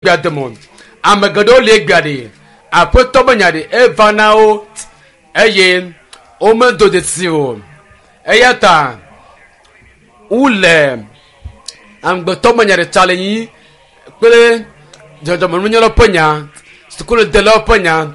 egbea dome o. Ame geɖewo li egbea ɖi, Aƒetɔ be nya ɖi eva na wo eye womedo dzesi o. Eya ta wole amegbetɔ be nya ɖe tsa le nyi kple dzɔdzɔmenunyalawo ƒe nya, sukuludelawo ƒe nya,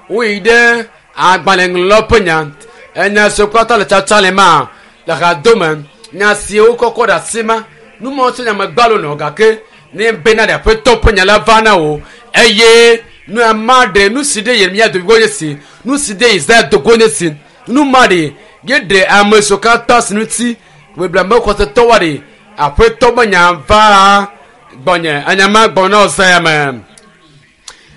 woyi ɖe agbalẽŋlɔlawo ƒe nya. Enya siwo katã le tsatsa le ma le hadome, nya siwo kɔkɔ ɖe asi ma, nu mawo tso nya me gbalo nɔ gake ne bena ɖe aƒetɔ ƒe nya la va na wò eye nu ma ɖe nu si ɖe Yeremia do go nye si, nu si ɖe Yesaya do go nye si, nu ma ɖe ye ɖe ame siwo katã si ŋuti gbegblẽ me xɔsetɔwoa ɖe aƒetɔ ƒe nya va gbɔnye anya ma gbɔ na Yesaya me.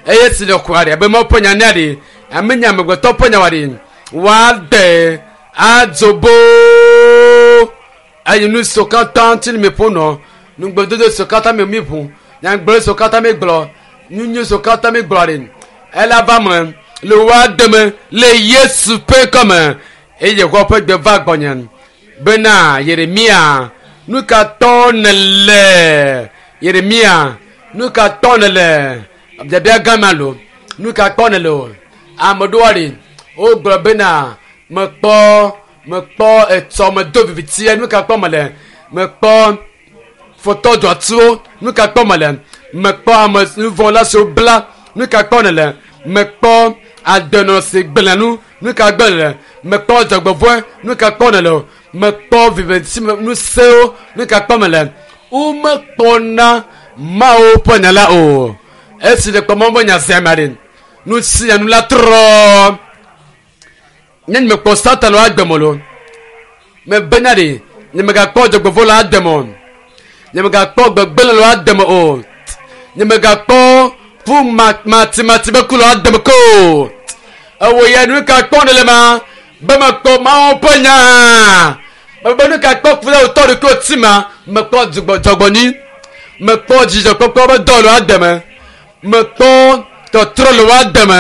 Eye si le xɔa ɖe abe Mawu ƒe nya nea ɖe ame nye amegbetɔ ƒe nya wa ɖe woaɖe adzo boo eye nu siwo katã ŋuti mi ƒo nɔ nugbedodo siwo katã mi mi ʋu nyagblɔɖi siwo katã mi gblɔ nyunyui siwo katã mi gblɔ ɖe ela va me le woaɖe me le Yesu ƒe ŋkɔme eye Yehowa ƒe gbe va gbɔnye bena Yeremia nu ka tɔ nèle Yeremia nu ka tɔ nèle biabia gã ma lo nu ka kpɔ nèle o ame ɖewoa ɖi wogblɔ bena mekpɔ mekpɔ etsɔ medo vivitia nu ka kpɔ mele mekpɔ fɔtɔ dzɔatsuwo nu ka kpɔ mele mekpɔ ame nuvɔla siwo bla nu ka kpɔ nèle mekpɔ adenɔ si gblẽ nu nu ka gblẽ nèle mekpɔ dzɔgbevɔe nu ka kpɔ nèle o mekpɔ viviti ŋusẽwo nu ka kpɔ mele womekpɔna Mawu ƒe nya la o esi ɖe kpɔ Mawu ƒe nya sia ma ɖe nu sia nu la trɔ nye mekpɔ Satan la agbe me lo mebena ɖe nye megakpɔ dzɔgbevɔ la ade me o nye megakpɔ gbegblẽ la ade me o nye megakpɔ ƒu matimati be ku la ade me ko ewɔ ya nu ka kpɔ ne le ma be mekpɔ Mawu ƒe nya mebe nu ka kpɔ ku ɖe wòtɔ ɖokuiwò ti ma mekpɔ dzɔgbɔnyui mekpɔ dzidzɔkpɔkpɔ be dɔ le woade me mekpɔ tɔtrɔ le woade me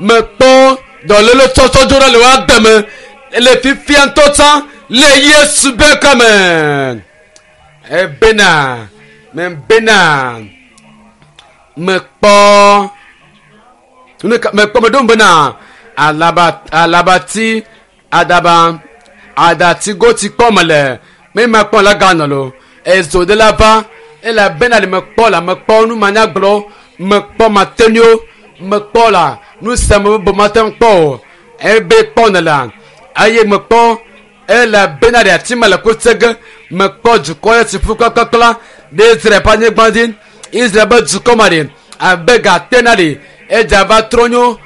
mekpɔ dɔléle tsɔtsɔ dzo ɖe le woade me le fifia ŋutɔ tsã le Yesu be kɔme ebena mebena mekpɔ mekpɔ meɖo bena alaba alabati adaba adatigoti kpɔ mele me makpɔ la ganɔ lo ezo de la va elabena le mekpɔ la mekpɔ nu manyagblɔ mekpɔ matenio mekpɔ la nu sia me bo mate ŋu kpɔ o ebe kpɔ ne la eye mekpɔ elabena ɖe ati me le kutse ge mekpɔ dukɔ ɖe si ƒu kplakplakpla ɖe Israel ƒe anyigba dzi Israel ƒe dukɔ ma ɖe abe gate na ɖe edza va trɔ nyo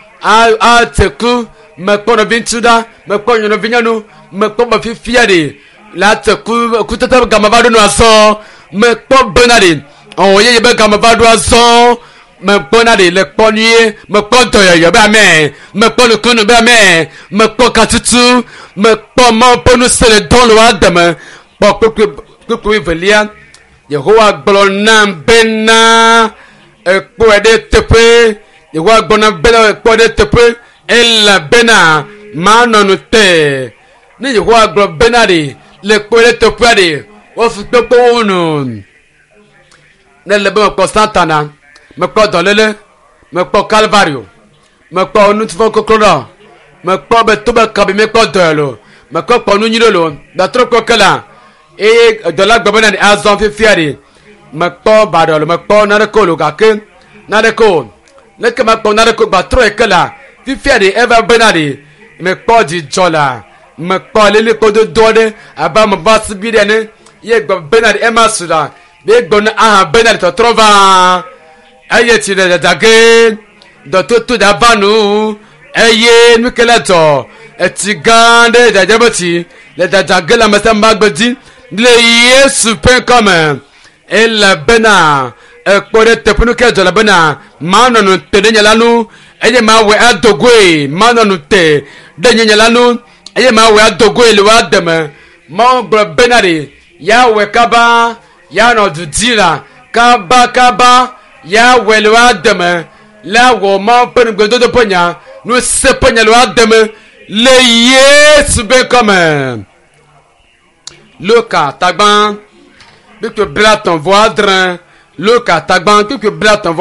atse ku mekpɔ nɔviŋutsu ɖa mekpɔ nɔvinyɔnu mekpɔ be fifia ɖe la tse ku kutete game va ɖo nu azɔ mekpɔ bena ɖe ɔwɔ yeye be game va ɖo azɔ mekpɔ na ɖe le kpɔ nyuie mekpɔ dɔyɔyɔ be ame mekpɔ nukunu be ame mekpɔ katutu mekpɔ Mawu ƒe ŋusẽ le dɔ le woa deme kpɔ kpukpui kpukpui velia Yehowa gblɔ nam bena ekpɔe ɖe teƒe Yehowa gblɔ nam bena ekpɔe ɖe teƒe elabena manɔ nu te ne Yehowa gblɔ bena ɖe le kpɔe ɖe teƒea ɖe wofi kpekpewo nu ne le be mekpɔ Satana mekpɔ dɔléle mekpɔ Kalvario mekpɔ nutifɔ koklo ɖɔ mekpɔ be to be kabi mekpɔ dɔe lo mekpɔ kpɔ nu nyui ɖe lo gbatrɔ kpɔ ke la eye dɔla gblɔ bena ɖe azɔ fifia ɖe mekpɔ baɖɔ lo mekpɔ naneke o lo gake naneke o leke mekpɔ naneke o gbatrɔ yi ke la fifia ɖe eva bena ɖe mekpɔ dzidzɔ la mekpɔ lilikpo dodo aɖe abe ame ƒe asibi ɖe ene ye gblɔ bena ɖe ema su la ye gblɔ na aha bena ɖe tɔtrɔ va eye tsi le dzadza ge dɔtoto da va nu eye nu ke la dzɔ etsi gã ɖe dzadza be tsi le dzadza ge le ame sia ame ƒe agbe dzi le Yesu ƒe ŋkɔme elabena ekpɔ ɖe teƒe nu ke dzɔ elabena manɔ nu te ɖe nye la nu eye mawɔe ado goe manɔ nu te ɖe nye nye la nu eye mawɔe ado goe le woa deme Mawu gblɔ bena ɖe yawɔe kaba yanɔ du dzi la kaba kaba yawɔe le woa deme la wɔ Mawu ƒe nugbedodo ƒe nya ŋusẽ ƒe nya le woa deme le Yesu be ŋkɔme. Luka tagba kpukpui 36. Luka tagba kpukpui 36.